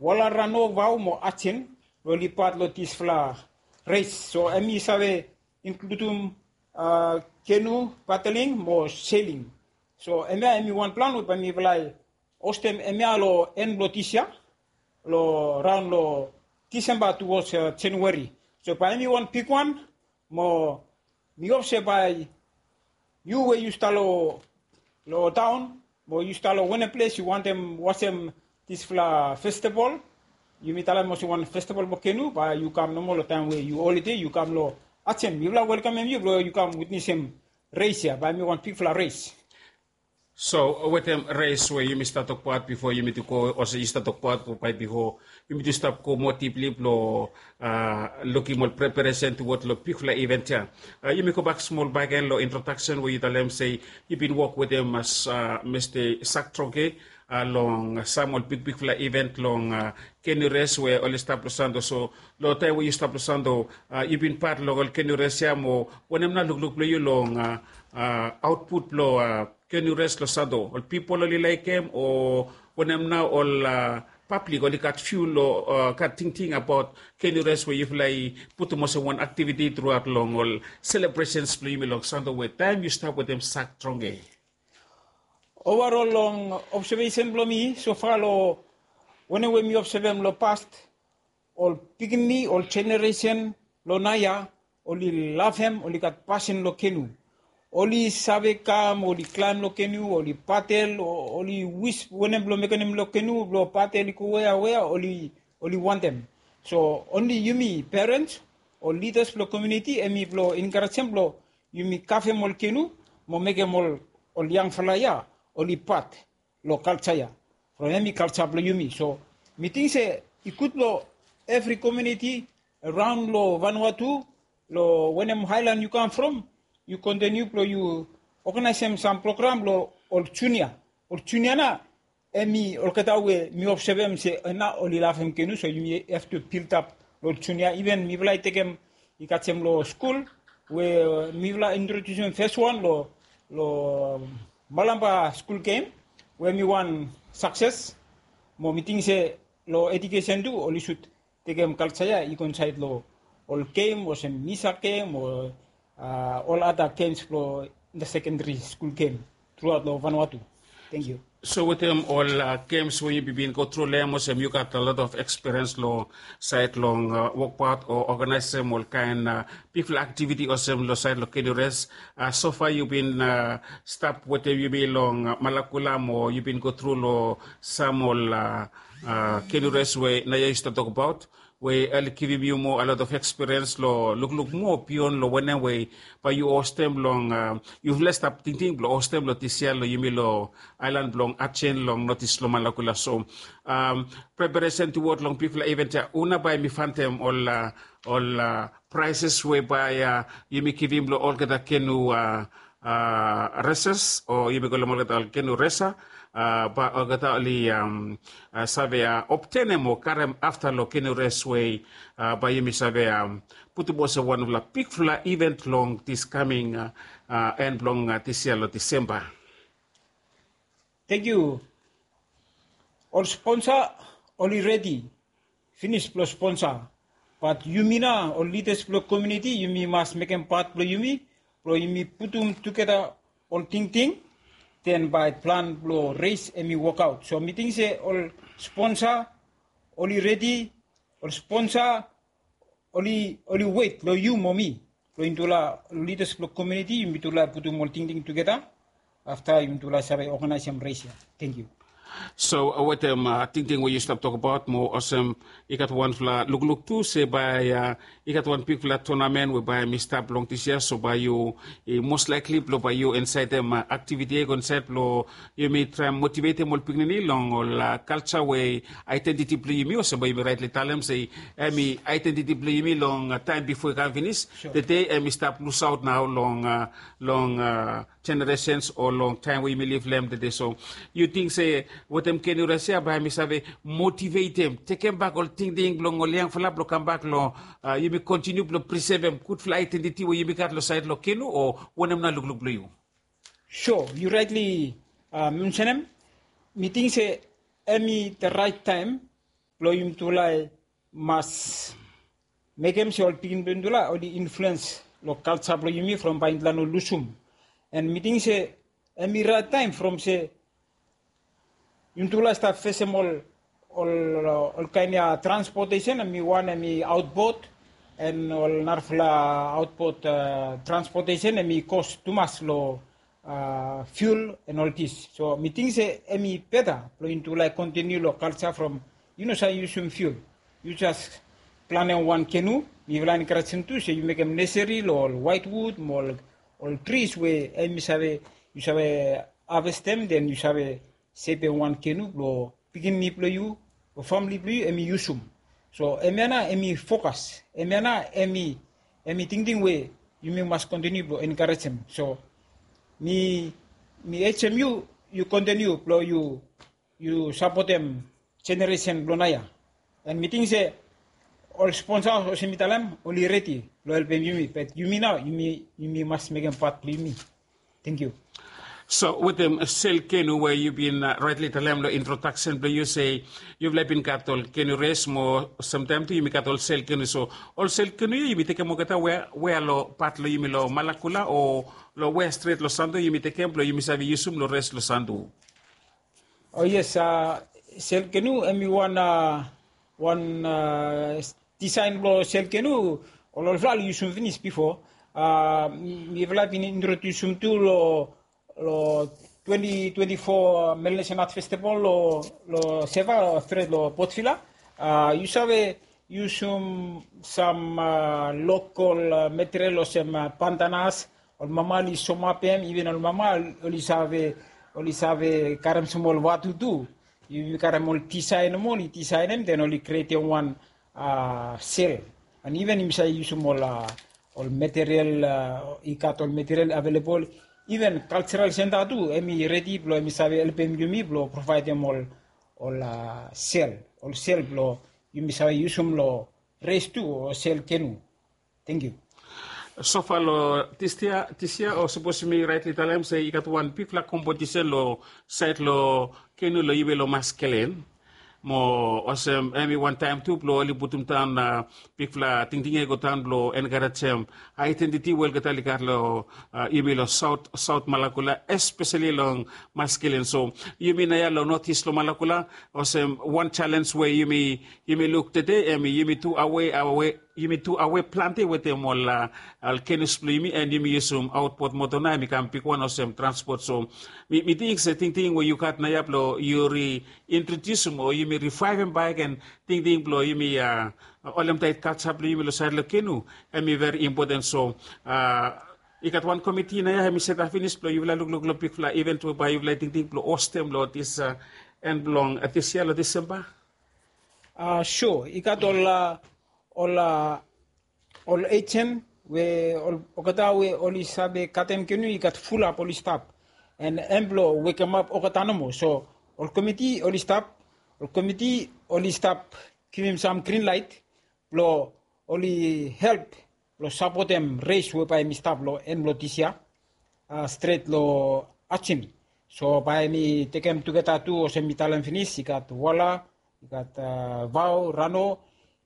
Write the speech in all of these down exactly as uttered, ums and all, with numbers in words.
Wala Rano Vao mo Achen, lo oli pat lo disfala res. So hemi save inkludim kenu, padeling mo sailing. So hemia hemi wanpela we bae mifala i hostem hemia lo en blo disia, lo raon lo Disemba towards January. So bae hemi wan bigwan, mo mi hop se bae yu we yu stap lo, lo taon, mo yu stap lo wanem ples yu wantem wasem disfala festival. Yumi talem olsem wan festival blo kenu, bae yu kam nomo lo taem we yu holide, yu kam lo Achen. Mifala welkamem yu blo yu kam witnesem res ya, bae hemi wan bigfala res. So wetem res we yumi stap tokbaot bifo, yumi tu go olsem yu stap tokbaot bae bifo, yumi tu stap go moa dipli blo lukim ol preparesen tuwod lo bigfala iven ya. Yumi gobak smol bakegen lo introdaksen we yu talem se yu bin wok wetem Mista Sak Tronge long sam ol bigbigfala iven long kenu res we oli stap lo Santo. So lo taem we yu stap lo Santo, yu bin pat long ol kenu res ya, mo wanem nao lukluk blo yu long aotput blo kenu res lo Santo? Ol pipol oli laekem, o wanem nao ol pablik oli gat fiu lo, gat tingting abaot kenu res we yufala i putum olsem wan aktiviti truaot long ol selebresens blo yumi long Santo we taem yu stap wetem Sak Tronge? Ovarol long obsevesen blo mi sofa, lo wanem we mi obsevem lo past, ol pikinini, ol jeneresen lo naoia, oli lavem, oli gat pasen lo kenu. Oli save kam, oli klaem lo kenu, oli padel, oli wis wanem blo mekenem lo kenu, blo padel i go wea wea, oli wantem. So onli yumi perens o lidas blo komuniti hemi blo enkarejem blo yumi kavem ol kenu mo mekem ol yangfala ya oli pat lo kalja ya. From hemi kalja blo yumi. So mi ting se i gud blo evri komuniti araon lo Vanuatu, lo wanem aelan yu kam from, yu kontiniu blo yu oganaesem sam program lo ol junia. Ol junia nao hemi olgeta we mi obsevem se nao oli lavem kenu, so yumi have to build up lo ol junia. Iven mifala i tekem, i kasem lo skul we mifala introdusim fes wan lo, lo Malampa skul gem, we hemi wan sakses. Mo mi ting se lo edukesen tu oli sud tekem kalja ya i go insaed lo ol gem olsem misa gem o ol ada gems blo inta sekendari skul gem truaot lo Vanuatu. Tangkiu. So wetem ol gems we yu bin go tru long hem, olsem yu gat a lot of ekspiriens lo saed long wokbaot o oganaesem ol kaen bigfala aktiviti olsem lo saed lo kenu res. Sofa yu bin stap wetem yumi long Malakula mo yu bin go tru lo sam ol kenu res we naoia yu stap tokbaot, we oli givim yu moa a lot of ekspiriens lo lukluk moa bion lo wanem we bae yu hostem long, yufala i stap tingting blo hostem lo dis yia lo yumi lo aelan blong Achen long notis lo Malakula. So preparesen tuwod long bigfala iven ya, hu nao bae yumi fantem ol, ol praeses we bae yumi givim lo olgeta kenu reses, o yumi kolem olgeta ol kenu resa, bae olgeta oli save obtenem o karem afta lo kenu res we bae yumi save putum olsem wanfala bigfala iven long dis kaming en blong dis yia lo Disemba. Tangkiu. Ol sponsa oli redi finis blo sponsa. Bat yumi nao ol lidas blo komuniti, yumi mas mekem pat blo yumi, blo yumi putum tugeta ol tingting, den bae plan blo res hemi wokaot. So mi ting se ol sponsa oli redi, ol sponsa oli, oli wet lo yu mo mi, lo yumi tufala lidas blo komuniti, yumi tufala putum ol tingting tugeta. Afta yumi tufala save oganaesem res ya. Tangkiu. So wetem tingting we yu stap tokbaot, mo olsem i gat wanfala lukluk tu se bae i gat wan bigfala tonamen we bae hemi stap long dis yia, so bae yu, i mos laekli blo bae yu insaedem aktiviti ya i go insaed blo yumi traem motivetem ol pikinini long ol kalja we aedentiti blo yumi, olsem bae yumi raetli talem se hemi aedentiti blo yumi long taem bifo i kam finis. Tede hemi stap lusaot nao long, long jeneresens o long taem we yumi liv long hem tede. So yu ting se wetem kenu res ya bae hemi save motivetem, tekembak ol tingting blong ol yangfala blo kambak lo yumi kontiniu blo prisevem gudfala aedentiti we yumi gat lo saed lo kenu, o wanem nao lukluk blo yu? So yu raetli mensenem, mi ting se hemi the right time blong yumi tufala i mas mekem se ol pikinini blong yumi tufala oli influens long kalsa blong yumi from bae yumi tufala no lusum. And mi ting se em i rait taem from se yumi tufala i stap fesem ol ol ol kaen ia transpotesen, em i wan em i aotbot, and ol narafala aotbot transpotesen em i kos tumas long fiul and ol dis. So mi ting se em i beta blong yumi tufala i kontiniu long kalsa from yu no save yusum fiul. Yu jes planem wan kenu. Mifala enkarejem tu se yu mekem neseri long ol waetwud mo ol tris we em i save yu save havestem, den yu save sepem wan kenu blong pikinini blong yu o famili blong yu em i yusum. So hemia nao em i fokas, hemia nao em i em i tingting we yumi mas kontiniu blong enkarejem. So mi mi ejem yu yu kontiniu blong yu yu sapotem jeneresen blong naoia. And mi ting se ol sponsa olsem mi talem oli redi blong helpem yumi, bat yumi nao yumi yumi mas mekem pat blong yumi. Tengkiu. So wetem sel kenu we yu bin raetli talem long introdaksen blong yu se yufala i bin gat ol kenu res mo samtaem tu yumi gat ol sel kenu. So ol sel kenu ya yumi tekem olgeta wea long pat long yumi long Malakula o long wea stret long Sandu yumi tekem blong yumi save yusum long res long Sandu? O yes, sel kenu em i wan wan disaen blong sel kenu ol olfala oli yusum finis bifo. Mifala bin introdiusim tu long long twenti twenti fo Melanesian Art Festival long long Seva stret long Port Vila. Yu save yusum sam lokol material olsem pantanas, ol mama oli somapem, iven ol mama oli save oli save karem sam ol vatu tu. Yumi karem ol disaen nomo oli disaenem den oli krietem wan sel. And iven yumi save yusum ol ol material i gat ol material avelebol. Iven kalseral senta tu em i redi blong em i save helpem yumi blong provaedem ol ol sel ol sel blong yumi save yusum long res tu o sel kenu. Tengkiu. Sofa long dis yia o sapos mi raetli talem se i gat wan bigfala kompetisen long saed long kenu long yumi long Maskelen. Mo olsem em i wan taem tu blong oli putum daon bigfala tingting ya i go daon blong enkarejem aedentiti we olgeta oli gat long yumi long saot saot Malakula, espeseli long Maskelen. So yumi naoia long notis long Malakula, olsem wan jalenj we yumi yumi luk tede em i yumi tu awe awe yumi tu awe plante wetem ol ol kenus blong yumi, and yumi yusum aotbot moto nao em i kam bigwan olsem transpot. So mi mi ting se tingting we yu gat naoia blong yu riintrodiusim o yumi rivaevem baek en tingting blong yumi a olemtaet kalsa blong yumi long saed long kenu em i veri impoten. So a i gat wan komiti naoia em i setap finis blong yufala lukluk long bigfala iven tu bae yufala i tingting blong hostem long dis a en blong dis yia long Disemba. A sua i gat ol a ol a ol ejen we ol olgeta we oli save katem kenu i gat fulap oli stap. En em blong wekemap olgeta nomo. So ol komiti oli stap ol komiti oli stap givim sam grin laet blong oli help blong sapotem res we bae mi stap long en blong dis yia a stret long Ajen. So bae mi tekem tugeta tu olsem mi talem finis i gat Wala, i gat a Vao, Rano.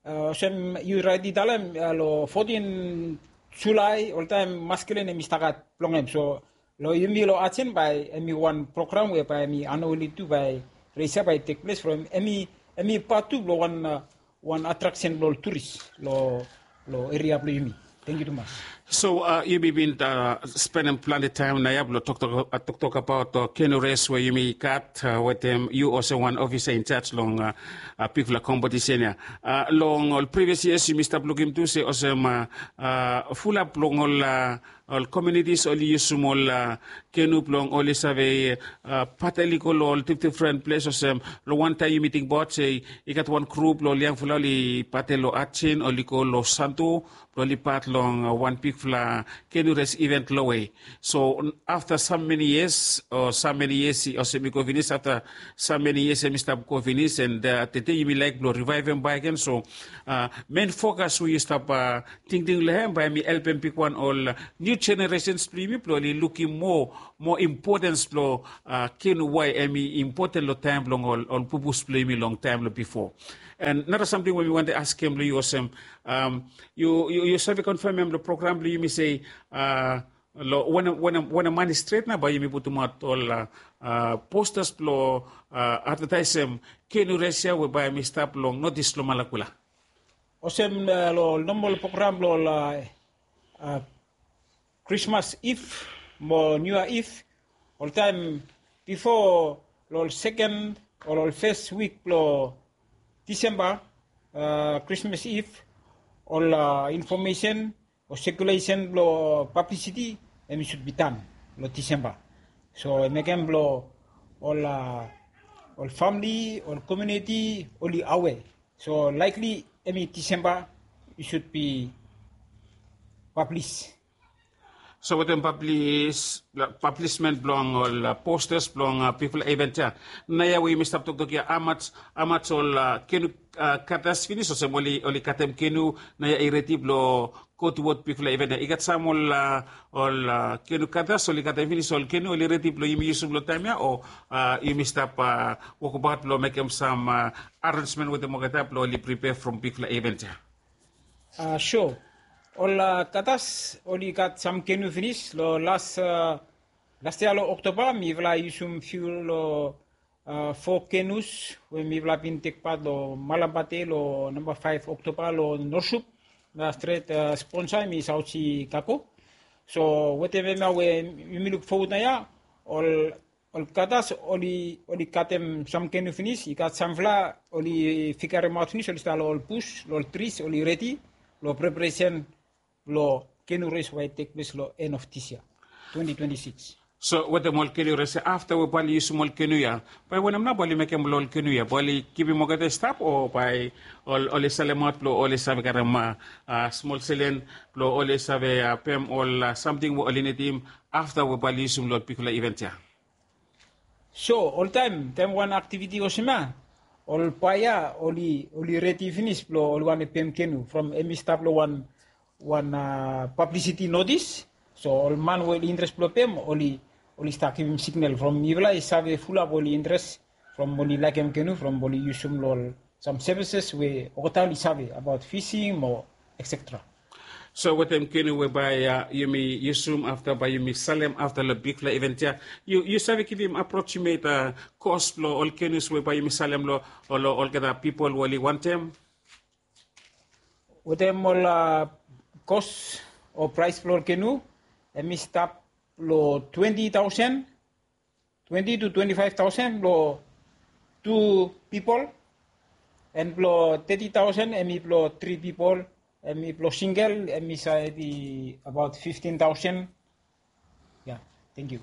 Olsem yu raet i talem long fotin Julae oltaem Maskelen em i stap gat blong em. So long yumi long Ajen bae em i wan program we bae em i anuali tu bae res ya bae i tekples from em i em i pat tu blong wan wan atraksen blong ol turis long long eria blong yumi. Tengkiu tumas. So a yumi bin a spenem plante taem naoia blong toktok a toktok abaot a kenu res we yumi gat a wetem yu olsem wan ofisa injaj long a bigfala kompetisen ya. A long ol privias yias yumi stap lukim tu se olsem a a fulap long ol a ol komiunitis oli yusum ol a kenu blong oli save a patel i go long ol difdifren ples olsem long wantaem yumi tingbaot se i gat wan grup blong ol yangfala oli patel long Ajen oli go long Sandu blong oli pat long wan bigfala kenu res iven lowe. So afta sam meni yias o sam meni yias olsem i go finis afta sam meni yias em i stap go finis and tede yumi laek blong rivaevem baek gen. So a men fokas we yu stap a tingting long hem bae mi helpem bigwan ol niu jeneresens blong yumi blong oli lukim moa moa impotens blong a kenu wae em i impoten long taem blong ol ol pupus blong yumi long taem long bifo. And nara samting we mi wante askem long yu olsem, yu save konfemem long program blong yumi se long wanem man i stret na bae yumi putumaot ol postas blong advetaesem kenu res ya we bae yumi stap long notis long malakula? Olsem long ol nomol program blong ol krismas iv mo niua iv, oltaem bifo long ol seken o ol fes wik blong disemba, krismas iv, ol infomesen o sekulesen blong pablisiti em i sud bi tan long disemba. So em mekem blong ol ol famili ol komiuniti oli awe. So laikli em i disemba i sud bi pablis. So wetem pablismen blong ol postas blong bigfala event ya, naoia we yumi stap toktok ya, amaj ol kenu katas finis olsem oli katem kenu naoia i redi blong go tuwod bigfala event ya? I gat sam ol ol kenu katas oli katem finis ol kenu oli redi blong yumi yusum long taem ya, o yumi stap wokbaot blong mekem sam arenjmen wetem olgeta blong oli pripea from bigfala event ya? So ol katas oli gat sam kenu finis long las las yia long Oktoba mifala i yusum fiul long fo kenus we mifala bin tekpat long malambate long namba faef Oktoba long Norsup. Na stret sponsa em i Sausi Kako. So wetem hemia we yumi luk fowod naoia, ol ol katas oli katem sam kenu finis, i gat samfala oli figaremaot finis oli stap long ol bus long ol tris oli redi long preparesen blong kenu res we i tekples long en of dis yia twenti twenti sikis. So wetem ol kenu res ya afta we bae oli yusum ol kenu ya, bae wanem nao bae oli mekem long ol kenu ya? Bae oli givim olgeta i stap o bae oli salemaot blong oli save garem smol selen blong oli save pem ol samting we oli nidim afta we bae oli yusum long ol bigfala event ya? So oltaem taem wan aktiviti olsem ya, ol baea oli redi finis blong oli wantem pem kenu from em i stap long wan wan pablisiti notis. So ol man we oli interes blong pem oli oli stap givim signal from mifala i save fulap oli interes from oli laekem kenu from oli yusum long ol sam sevises we olgeta oli save abaot fising mo etsetera. So wetem kenu we bae yumi yusum afta bae yumi salem afta long bigfala event ya, yu save givim aproksimet kos blong ol kenus we bae yumi salem long olgeta pipol we oli wantem? Wetem ol kos o praes blong ol kenu em i stap long twenti taosen twenti tu twenti faef taosen blong tu pipol. En blong teti taosen em i blong tri pipol. Em i blong singel em i save i abaot fiftin taosen. Ya. Tangkiu.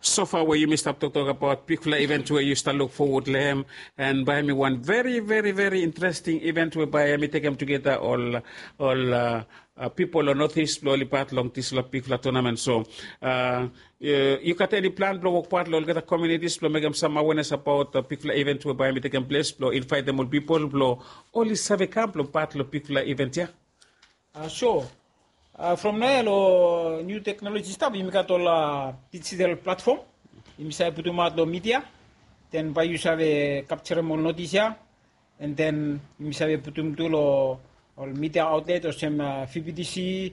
Sofa we yumi stap toktok abaot bigfala event we yu stap luk fowod long hem, en bae hem i wan veri veri veri interesting event we bae hem i tekem tugeta ol ol pipol long notis blong oli pat long disfala bigfala tonamen. So yu gat eni plan blong wokbaot long olgeta komiunitis blong mekem sam awenes abaot bigfala event we bae hem i tekem ples blong invaetem ol pipol blong oli save kam blong pat long bigfala event ya? So from naoia long niu teknoloji stap yumi gat ol dijital platfom. Yumi save putumaot long midia, den bae yu save kapjarem ol notis ya. En den yumi save putum tu long ol midia aotlet olsem vbtc,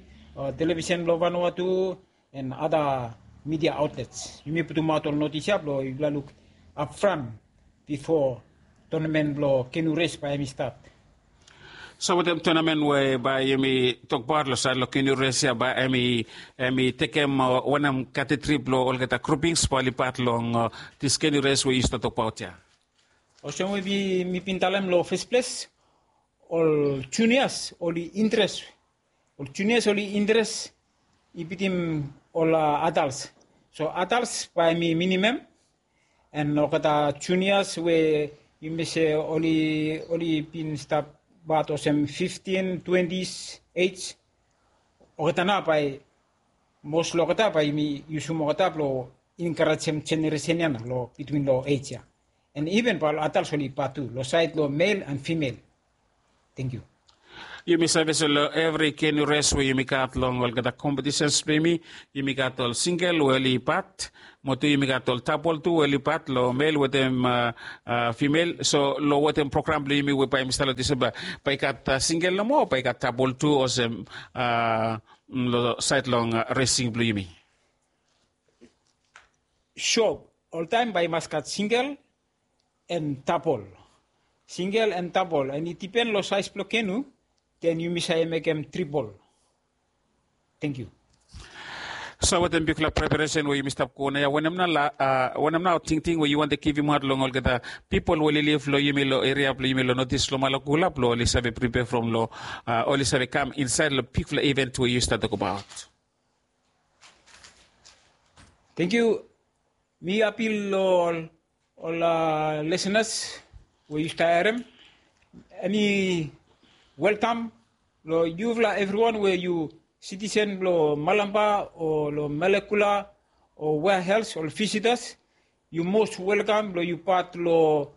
televisen blong vanua tu, en ada midia aotlets. Yumi putumaot ol notis ya blong yufala luk apfran bifo tonamen blong kenu res bae hem i stat. So wetem tonamen we bae yumi tokbaot long saed long kenu res ya, bae hem i tekem wanem katetri blong olgeta grupings bae oli pat long dis kenu res we yu stap tokbaot ya? Olsem we mi bin talem long fes ples, ol junias oli interes ol junias oli interes i bitim ol adals. So adals bae mi minim hem, en olgeta junias we yumi se oli oli bin stap bat olsem fiftin twentis ej, olgeta nao bae mos long olgeta bae yumi yusum olgeta blong enkarejem jeneresen ya nao long bitwin long ej ya. En iven bae ol adals oli bat tu long saed long mel en fimel. Tangkiu. Yumi save se long evri kenu res we yumi gat long olgeta kompetisens blong yumi, yumi gat ol singel we oli pat, mo tu yumi gat ol tabol tu we oli pat long mel wetem fimel. So long wetem program blong yumi we bae yumi stap long Disemba, bae i gat singel nomo o bae i gat tabol tu olsem long saed long resing blong yumi? Sua, oltaem bae i mas gat singel and tabol. Singel and tabol, and i dipen long saes blong kenu, then yumi save mekem tribol. Thank you. So wetem bigfala preparesen we yumi stap go naoia, wanem nao tingting we yu wantem givimaot long olgeta pipol we oli liv long yumi long eria blong yumi long North East long Malakula blong oli save pripea from long oli save kam insaed long bigfala event we yu stap tokbaot? Thank you. Mi apil long ol lisenas we yu stap harem, hemi welkam long yufala evriwan we yu sitisen blong Malampa o long Malakula o wea els, ol visitas, yu mos welkam blong yu pat long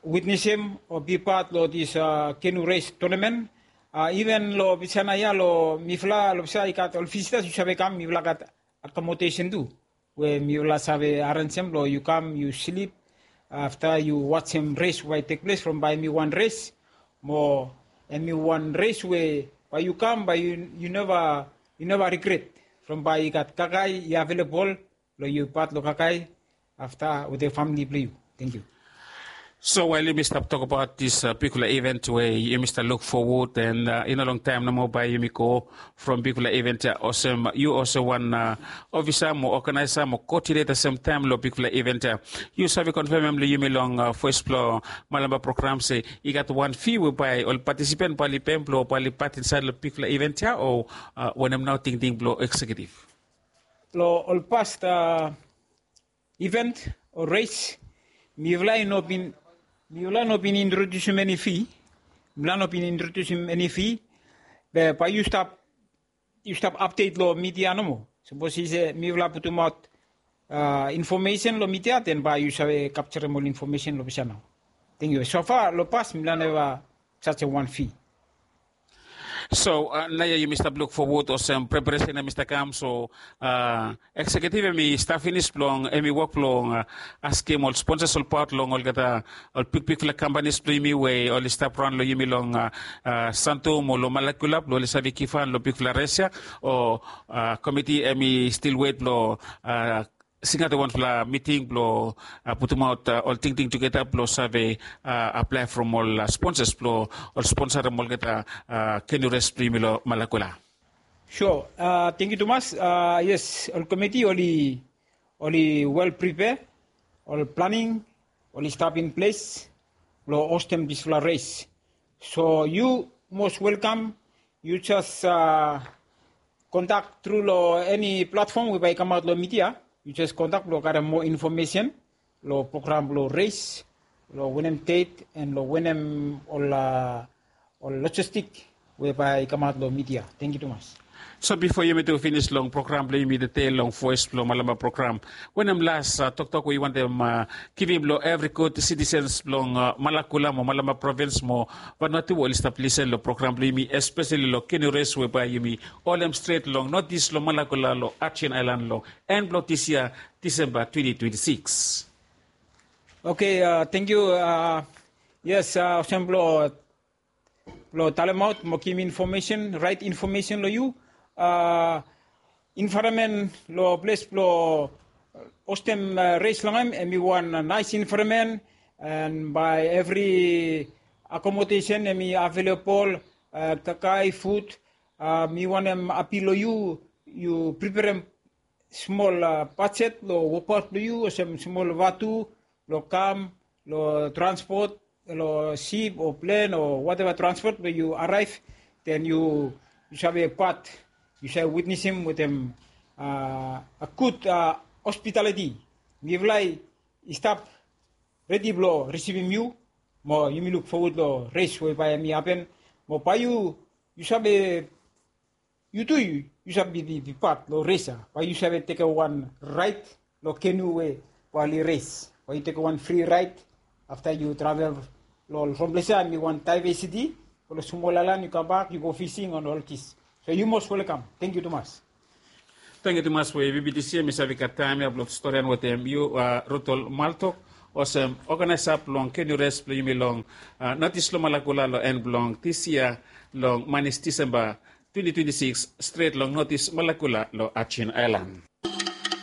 witnesem o bipat long dis kenu res tonamen. Iven long Visana ia long mifala long Visana i gat ol visitas, yu save kam, mifala gat akomodesen tu we mifala save arenjem blong yu kam yu slip afta yu wajem res we bae i tekples from bae hemi wan res mo hemi wan res we bae yu kam bae yu neva yu neva rigret from bae i gat kakae i avelebol long yu pat long kakae afta wetem famili blong yu. Thank you. So wael yumi stap tokbaot dis bigfala event we yumi stap luk fowod and i no longtaem nomo bae yumi go from bigfala event ia olsem yu olsem wan ofisa mo oganaesa mo koodineta semtaem long bigfala event ia, yu save konfemem long yumi long fes blong Malampa program se i gat wan fi we bae ol patisipan bae oli pem blong bae oli pat insaed long bigfala event ia o wanem nao tingting blong eksekiutiv? Long ol past event o res, mifala i no bin mifala no bin introdiusim eni fi. Mifala no bin introdiusim eni fi. Be bae yu stap yu stap apdet long midia nomo. Sapos i se mifala putumaot infomesen long midia, den bae yu save kapjarem ol infomesen long Visana. Thank you. So far long pas mifala neva sajem wan fi. So naoia yumi stap luk fowod olsem preparesen hemi stap kam, so eksekiutiv hemi stap finis blong hemi wok blong askem ol sponsas olbaot long olgeta ol bigbigfala kampanis blong yumi we oli stap raon long yumi long Santo mo long Malakula blong oli save givhan long bigfala res ia, o komiti hemi stil wet blong singaot wanfala miting blong putumaot ol tingting tugeta blong save aplae from ol sponsas blong ol sponsarem olgeta kenu res blong yumi long Malakula. Sua, tangkiu tumas. Yes, ol komiti oli oli wel pripea, ol planing oli stap in ples blong hostem disfala res. So yu mos welkam, yu jes kontak tru long eni platfom we bae i kamaot long midia. Yu jes kontak blong karem moa infomesen long program blong res, long wanem det and long wanem ol ol lojistik we bae i kamaot long midia. Tangkiu tumas. So bifo yumi tu finis long program blong yumi tede long Voes blong Malampa program, wanem las toktok we yu wantem givim long evri gud sitisens blong Malakula mo Malampa provins mo Vanuatu we oli stap lisen long program blong yumi, espeseli long kenu res we bae yumi holem stret long notis long Malakula long Ajen Aelan long en blong dis yia, Disemba twenti twenti sikis? Oke, tangkiu. Yes, olsem blong blong talemaot mo givim infomesen, raet infomesen long yu. Envaeronmen long ples blong hostem res long hem, hemi wan naes envaeronmen, and bae evri akomodesen hemi avelebol, kakae, fud. Mi wantem apil long yu, yu priperem smol bajet long wokbaot blong yu, olsem smol vatu long kam, long transpot, long sip o plen o wateva transpot we yu araev, den yu save pat, yu save witnesem wetem gud hospitaliti. Mifala i stap redi blong risivim yu, mo yumi luk fowod long res we bae hemi hapen, mo bae yu, yu save yu tu yu save bipat long res ia, bae yu save tekem wan raet long kenu we bae oli res, bae yu tekem wan fri raet afta yu travel Long ol from ples ya mi wan taivesiti, ol smol aelan yu kambak yu go fising on ol kis. So yu mos welkam. Tengkiu tumas. Tengkiu tumas we vibitisi ya mi save gat taem ya blong storian wetem yu, rutol maltok, olsem oganaesa blong kenu res blong yumi long notis long malakula long en blong dis yia, long manis disemba twenti twenti sikis, stret long notis malakula long ajin aelan.